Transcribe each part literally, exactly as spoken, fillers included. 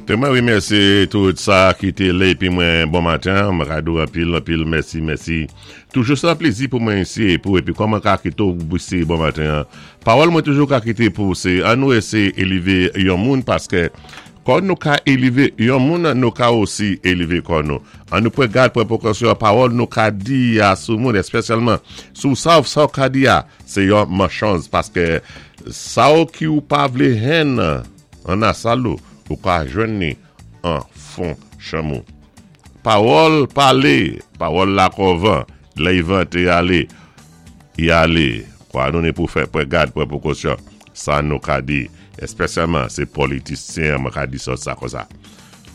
Té mwen wimèsyé tout sa ki té la épi mwen bon maten, mwen ka di-ou anpil, anpil, mèsi, mèsi. Toujou sa plézi pou mwen isi pou épi kòman ka kité ou isi bon maten. Pawòl mwen toujou ka kité pou sé an nou éséyé élévé yon moun paské kon nou ka élévé yon moun, nou ka osi élévé kò nou. An nou pwan gad pwan pwékosyon pawòl nou ka di a sou moun, èspésyalman sou sa ou sa ou ka di a, sé yon manchonz paské sa ou ki ou pa vlé jwenn an a sal ou, ou ka jwenn ni an fon chanm ou. Pawòl palé, pawòl la kon van, lè i vanté alé, i alé. Kwa nou ni pou fè pwan gad, pwan pwékosyon, sa nou ka di, èspésyalman sé politisyen mwen ka di sòt sa kon sa.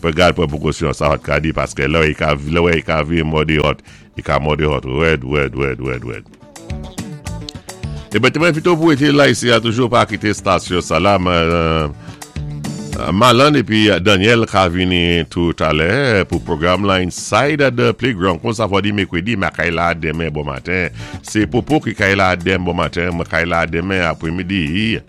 Pwan gad, pwan pwékosyon, sa wòt ka di, paské lè i ka, lè i ka vi mòdé wòt, i ka mòdé wòt, wèd, wèd, wèd, wèd, wèd. É ben, té mwen envité pou été la isi a toujou pa kité stasyon sa la, euh, Malan épi Daniel ka vini tout alè pou pwogram la Inside the Playground. Kon sa fwa di mèkwédi, ma kay la denmen bon maten. Sé Popo ki kay la denmen bon maten, ma kay la denmen apwémidi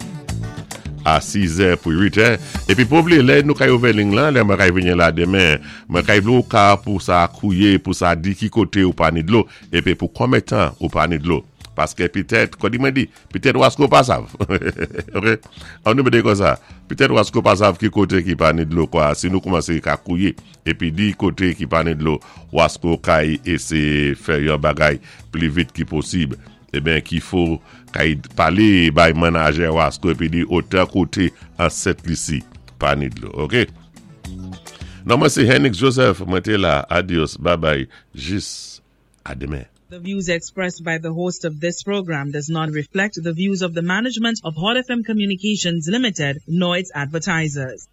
a sis è pou uit è. Épi pou vlé, lè nou kay ouvè ling lan, lè mwen kay vini la denmen, mwen kay vlé ou ka pou sa kouwé, pou sa di ki koté ou pa ni dlo, épi pou konbyen tan ou pa ni dlo. Paské pitèt, kon di mwen di, pitèt wasko pa sav. Ok? An nou mété kon sa. Pitèt wasko pa sav ki koté ki pa ni dlo kwa. Si nou koumansé ka kouwé, épi di koté ki pa ni dlo, wasko kay éséyé fè yon bagay pli vit ki posib. É ben ki fò kay palé bay manajè wasko épi di otan koté an Sent Lisi pa ni dlo. Ok? Non mwen sé Henrik Joseph, mwen té la. Adios, bye bye, jis a denmen. The views expressed by the host of this program does not reflect the views of the management of Hot F M Communications Limited nor its advertisers.